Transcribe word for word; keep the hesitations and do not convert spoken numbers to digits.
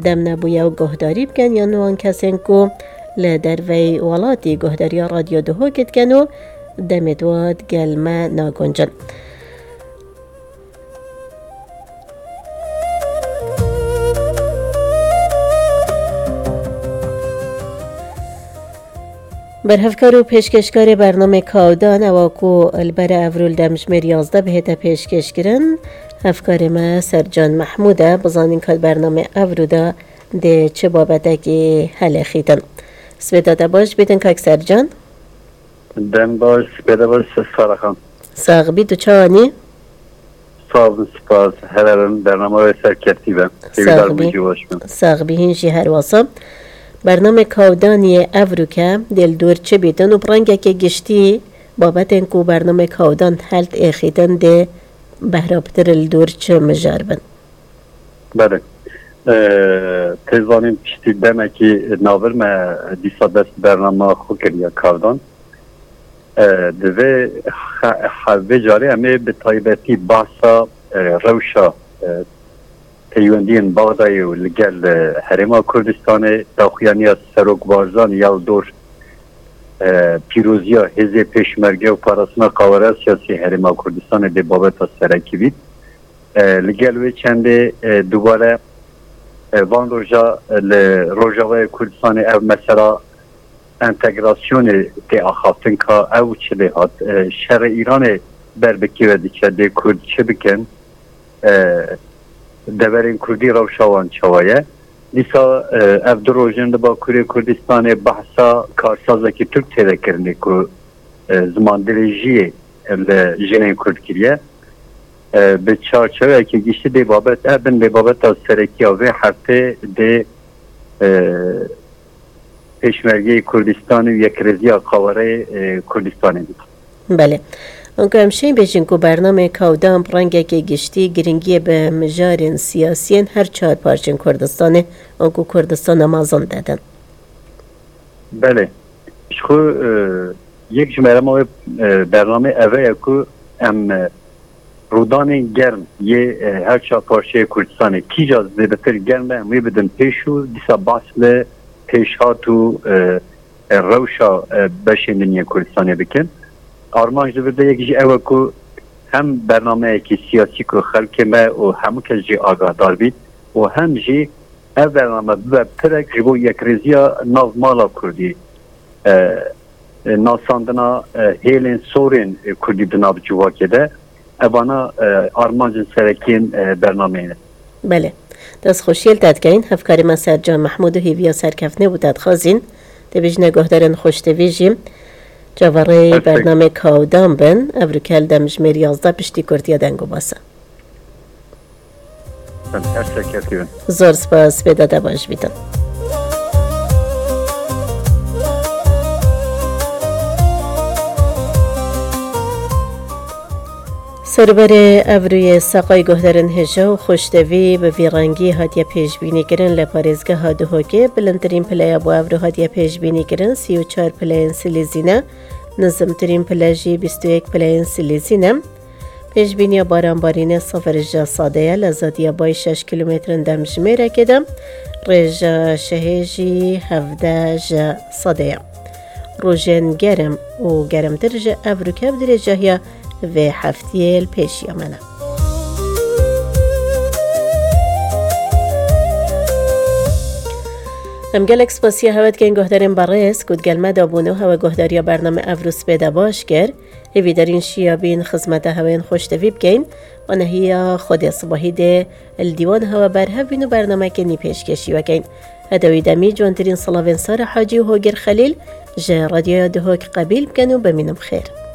Dem nebûye û guhdarî bikin yan wan kesên ku li derveyî welatî guhdariya Radyo Duhokê dikin û demê di we digel me naguncin. Berhevkar û pêşkêşkarê bernamê Kawdan ewa ku li ber evro li demjimêr yazdeh bihête pêşkêşkirin, hevkarê me Sercan Mehmûd e, bizanîn ka di bernamê evro de dê çi babetekî helêxîtin. Sibê te baş bîtin kak Sercan. Dem baş, sibê te baş, Sara Xan. Sax bî, tu çawa nî? Sağ olun, spas. Helalin, bernama ve serkefti ben. Sağ Sevgiler ol. Buyucu başkan. Sax bî, hîn jî her wasa. Bernamê Kawdaniyê evroke dê li dor çi bîtin û bi rengekê giştî babetên ku bernamê Kawdan held êxîtin dê behra pitir li dor çi mijar bin? Belê. Ee, tê zanîn piştî demekî navir me dîsa dest bernama xwe kiriye Kawdan. E, divê he-, he-, vê carê em ê bi taybetî behsa, e, rewşa, e, peywendiyên Baxdayê û li gel, e, Herêma Kurdistanê, daxuyaniya Serok Barzanî ya li dor, e, pîroziya Hêzê Pêşmerge û parastina qawara siyasî Herêma Kurdistanê dê babeta serekî bît. E, li gel wê çendê, e, dubare, e, van roja, e, li Rojavayê Kurdistanê ev mesela entegrasyonê tê axaftin ka ew çi lê hat. E, şerê Îranê ber bi kê ve diçe, dê Kurd çi bikin? E, deverên Kurdî rewşa wan çawa ye? Dîsa, e, ev du roj in li Bakurê Kurdistanê behsa karsazekî Tirk tê vekirinê ku, e, ziman dirêjiyê li jinên Kurd kiriye. E, bi çarçeweyekî giştî dê babet, e, bin dê babeta serekî ya vê heftê dê, e, Pêşmergeyê Kurdistanê û yekrêziya qawareyê, e, Kurdistanê bît. Belê. Anku em şên bêjin ku bernamê Kawdan bi rengekê giştî giringiyê bi mijarên siyasiyên her çar parçên Kurdistanê, anku Kurdistana mezin dedin. Belê. Ji xwe, e, yek ji merema wê, e, bernamê eve ye ku em, e, rûdanên germ yê, e, her çar parçeyê Kurdistanê kîja zêdetir germ e, em wê bidin pêş û dîsa behs li pêşhat û, e, e, rewşa, e, beşên din yên Kurdistanê bikin. Armanc li vir de yek jî ew e ku hem bernameyekî siyasî ku xelkê me û hemû kes jî agahdar bît û hem jî ev bername bibe pirek ji bo yekrêziya nav mala Kurdî, e, e, nasandina, e, hêlên sorên, e, Kurdî di nav civakê de. Evana, e, armancên serekiyên, e, bernameyê ne. Belê. Dest xweşiyê li te dikeyin. Hevkarê me Sercan Mehmûd û hêviya serkeftinê bo te dixwazîn. Tê bêjine guhdarên xweştevî jî çaverêyî Perfect. Bernamê Kawdan bin. Evroke li demjimêr yazdeh piştî kurtiya deng û basa. Em her serkeftin. Zor spas, bê dada baş bîtin. Serberê evrûyê seqay guhdarên hêja û xweştevî bi vî rengî hatiye pêşbînîkirin li parêzgeha Duhokê. Bilindtirîn pileya bo evrû hatiye pêşbînîkirin sî û çar pileyên silîzî ne, nizimtirîn pile jî bîst û yek pileyên silîzî ne. Pêşbîniya baranbarînê sifir ji sedê ye, li zadiya bayî şeş kîlometrin demjimêrekê de, rêja şehê jî hevdeh ji sedê ye. Rojên germ û germtir ji evroke bi dirêjahiya vê heftiyê li pêşiya me ne. Em gelek spasiya hewe dikin guhdarên berêz ku digel me de bûn û hewe guhdariya bername Evrû Spê de baş kir. Hêvîdarîn şiya bîn xizmeta hewên xweştevî bikeyn. Wanehiya Xwedê sibahî dê li dîwan hewe berhev bîn û bernameke nî pêşkêşî wekeyn. Heta wî demî, ciwantirîn silavên Sara Hacî û Hogir Xelîl ji Radyoya Duhok qebîl bikin û bimînin bi xêr.